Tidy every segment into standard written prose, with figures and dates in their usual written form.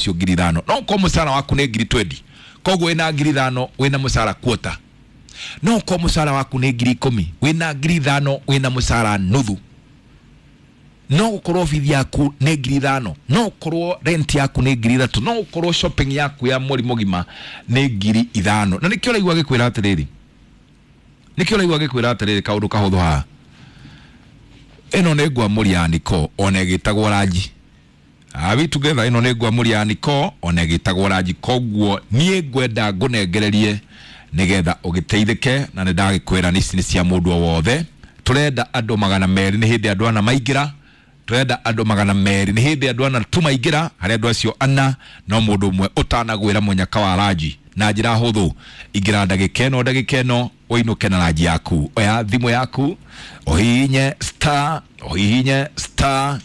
Ũcio 5,000, no ũkorwo mũcara waku nĩ 20,000, koguo wĩna 5,000, wĩna mũcara quarter. No ũkorwo mũcara waku nĩ 10,000, wĩna 5,000, wĩna mũcara nuthu. No gũkorwo bithi yaku nĩ 5,000, no ũkorwo rent yaku nĩ 3,000, no ũkorwo shopping yaku ya mweri mũgima nĩ 5,000. Na nĩkĩo ũraigua gĩkwĩra atĩrĩrĩ, nĩkĩo ũraigua gĩkwĩra atĩrĩrĩ, kaũndũ kahũthũ haha, ĩno nĩ ngwamũri ya niko ona ĩgĩtagwo ranji. Are we together? Ĩno nĩ ngwamũri ya niko ona ĩgĩtagwo ranji. Koguo niĩ ngwenda ngũnengererie nĩgetha ũgĩteithĩke, na nĩ ndagĩkwĩra ici nĩ cia mũndũ o wothe. Tũrenda andũ 200, nĩ hĩndĩ andũ ana maingĩra. Tũrenda andũ 200, nĩ hĩndĩ andũ ana tu maingĩra. Harĩ andũ acio ana, no mũndũ ũmwe ũtanagwĩra mũnyaka wa ranji na njĩra hũthũ. Ingĩra ndagĩka ĩno, ndagĩka ĩno ũinũke na ranji yaku. Oya thimũ yaku, ũhihinye star, ũhihinye star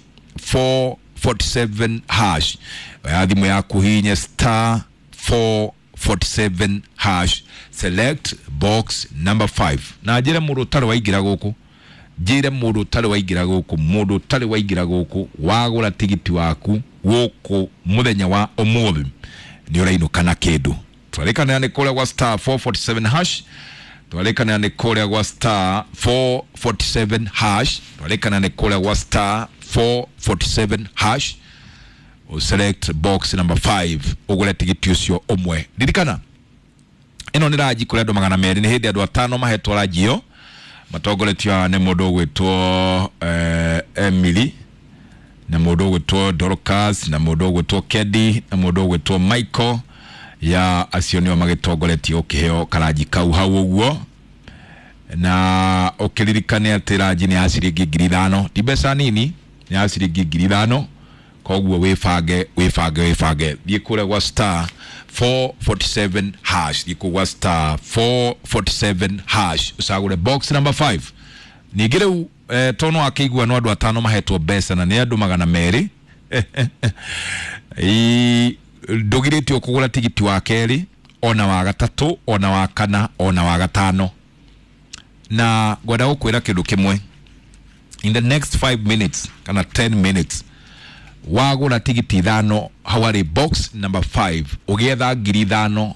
447 hash. Oya thimũ yaku, ũhihinye star 447 hash, select box number 5. Na njĩre mũndũ ũtarĩ waingĩra gũkũ, njĩre mũndũ ũtarĩ waingĩra gũkũ, mũndũ ũtarĩ waingĩra gũkũ, wagũra tigiti waku gũkũ mũthenya wa ũmũthĩ, nĩ ũrainũka na kĩndũ. Twarĩkanĩra nĩ kũrĩa gwa star 447 hash, twarĩkanĩra nĩ kũrĩa gwa star 447 hash, twarĩkanĩra nĩ kũrĩa gwa star 447 hash, select box number 5, ũgũre tigiti ũcio ũmwe. Ririkana ĩno nĩ ranji kũrĩ andũ 200, nĩ hĩndĩ andũ atano mahetwo ranji ĩyo, matongoretio haha nĩ mũndũ ũgwĩtwo Emily, na mũndũ ũgwĩtwo Dorcas, na mũndũ ũgwĩtwo Kedi, na mũndũ ũgwĩtwo Michael. Ya acio nĩo magĩtongoretie ũkĩheo karanji kau hau ũguo. Na ũkĩririkane atĩ ranji nĩ ya ciringi 5,000, ti mbeca nini, nĩ ya ciringi 5,000. Koguo wĩbange, wĩbange, wĩbange, thiĩ kũrĩa gwa star 447 hash, thiĩ kũu gwa star 447 hash, ũcagũre box number 5. Ningĩ rĩu tondũ no akĩigua no andũ atano mahetwo mbeca na nĩ andũ 200, ndũgirĩtio kũgũra tigiti wa kerĩ, ona wa gatatũ, ona wa kana, ona wa gatano. Na ngwenda gũkwĩra kĩndũ kĩmwe, in the next 5 minutes kana 10 minutes, wagũra tigiti ithano hau harĩ box number 5, ũgĩetha 5,000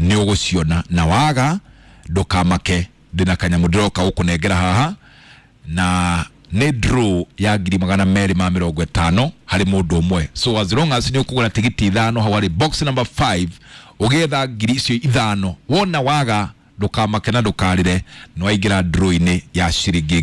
nĩ ũgũciona. Na waga ndũkamake, ndĩna kanyamũ ndĩroka gũkũnengera haha, na nĩ draw ya 250,000 harĩ mũndũ ũmwe. So as long as nĩ ũkũgũra tigiti ithano hau harĩ box number 5, ũgĩetha 5,000 icio, wona waga ndũkamake na ndũkarĩre, nĩ waingĩra draw-inĩ ya ciringi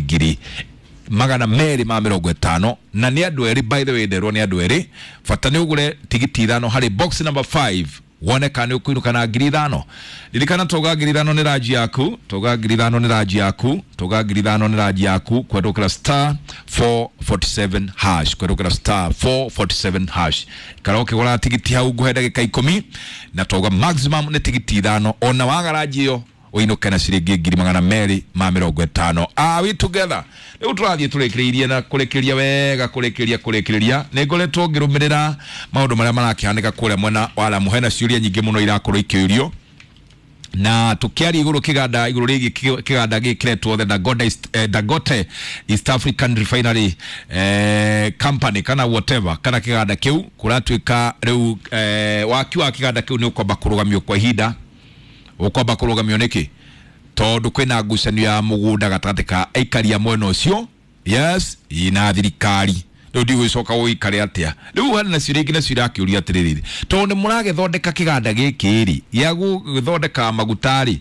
250,000. Na nĩ andũ erĩ, by the way, nderwo nĩ andũ erĩ. Bata nĩ ũgũre tigiti ithano harĩ box number 5, wone kana nĩ ũkũinũka na 5,000. Ririkana tauga 5,000 nĩ ranji yaku, tauga 5,000 nĩ ranji yaku, tauga 5,000 nĩ ranji yaku, kwendũkĩra star 447 hash, kwendũkĩra star 447 hash. Ikara ũkĩgũra tigiti hau, ngũhe ndagĩka 10, na tauga maximum nĩ tigiti ithano. Ona waga ranji ĩyo, ũinũke na ciringi 250,000. Are we together? Rĩu tũrathiĩ tũrĩkĩrĩirie na kũrĩkĩria wega, kũrĩkĩria, kũrĩkĩrĩria. Nĩ ngoretwo ngĩrũmĩrĩra maũndũ marĩa marakĩhanĩka kũrĩa mwena wa Lamu. Hena ciũria nyingĩ mũno irakorwo ikĩũrio, na tukiaria igũrũ kĩganda, igũrũ rĩgiĩ kĩganda gĩkĩ kĩretwo the Dangote Dangote East African Refinery Company kana whatever, kana kĩganda kĩu kũratuĩka rĩu waki wa kĩganda kĩu nĩ ũkwamba kũrũgamio kwa ihinda. Ũkwamba kũrũgamio nĩkĩ? Tondũ kwĩna ngucanio ya mũgũnda gatagatĩ ka aikari a mwena ũcio, yes, na thirikari. Rĩu ndigũgĩcoka gũgĩikare atĩa. Rĩu hena nacio rĩngĩ nacio irakĩũria atĩrĩrĩ, tondũ nĩ mũragĩthondeka kĩganda gĩkĩ rĩ gĩa gũthondeka maguta rĩ,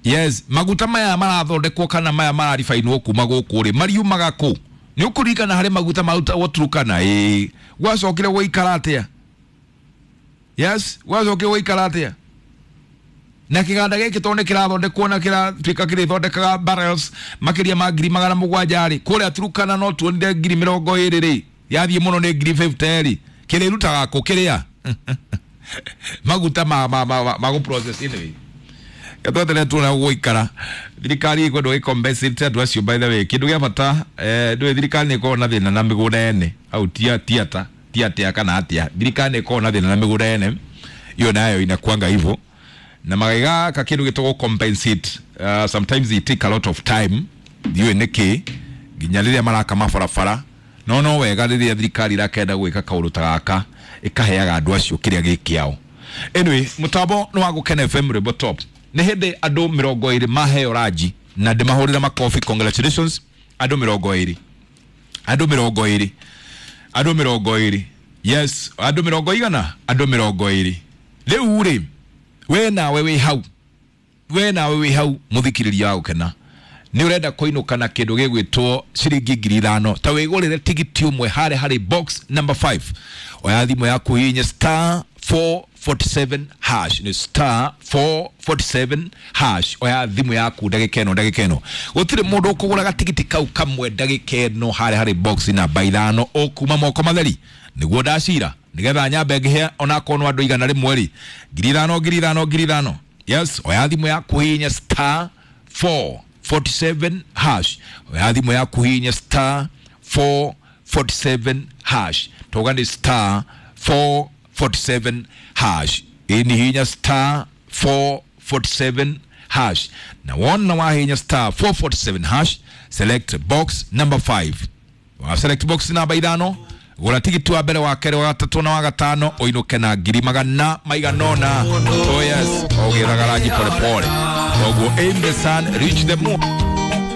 yes, maguta maya marathondekwo kana maya mararibainwo kuma gũkũ rĩ, mariumaga kũ? Nĩ ũkũririkana harĩ maguta marutagwo Turkana? Ĩĩ, gwacokire gũikara atĩa? Yes, gwacokire gũikara atĩa? Na kĩganda gĩkĩ tondũ nĩ kĩrathondekwo na kĩratuĩka kĩrĩthondekaga barrels makĩria ma 700,000 rĩ, kũrĩa Turkana no tuonire 20,000 rĩ, yathiĩ mũno nĩ 50,000 rĩ, kĩrĩrutaga kũ kĩrĩa maguta ma gũ process? Anyway, gatweterere tuona gũikara. Thirikari ĩkwendwo ĩcompensate andũ acio. By the way, kĩndũ gĩa bata, ndũĩ thirikari nĩ ĩkoragwo na thĩna na mĩgũnda ene au tia tiata ti atĩa kana atĩa? Thirikari nĩ ĩkoragwo na thĩna na mĩgũnda ene, hiyo nayo inakuanga hivyo, na magĩgaka kĩndũ gĩtagwo compensate, sometimes it take a lot of time. Ndiũĩ nĩkĩ nginya rĩrĩa maraka mabarabara, no wega rĩrĩa thirikari irakenda gwĩka kaũndũ ta gaka. Ĩkaheaga andũ acio kĩrĩa gĩ kĩao. Anyway, mũtambo nĩ wa Gũkena FM Rwĩmbo Top. Nĩ hĩndĩ andũ 20 maheo ranji na ndĩmahũrĩre makobi. Congratulations andũ 20, andũ 20, andũ 20. Yes, andũ mĩrongo igana, andũ 20. Rĩu rĩ, we nawe wĩ hau, we nawe wĩ hau mũthikĩrĩria wa Gũkena, nĩ ũrenda kũinũka na kĩndũ gĩgwĩtwo ciringi 5,000, ta wĩgũrĩre tigiti ũmwe harĩa harĩ box number 5. Oya thimũ yaku, hihinye star 447 hash, nĩ star 447 hash. Oya thimũ yaku ndagĩka ĩno, ndagĩka ĩno gũtirĩ mũndũ ũkũgũra gatigiti kau kamwe ndagĩka ĩno harĩa harĩ box namba 5 ũkuma moko matheri. Nĩguo ndacira nĩgetha nyambe ngĩhe onakorwo no andũ 100 rĩ, 5,000, 5,000, 5,000. Yes, oya thimũ yaku, hihinya star 447 hash. Oya thimũ yaku, hihinya star 447 hash. Toga nĩ star 447 hash. Ĩni, hihinya star 447 hash, na wona wahihinya star 447 hash, select box number 5. Wa select box namba 5, gũra tigiti wa mbere, wa kerĩ, wa gatatũ na wa gatano, ũinũke na ngiri magana maigana ũna. Oh yes, ũgĩraga ranji pole pole. Koguo aim the sun, reach the moon.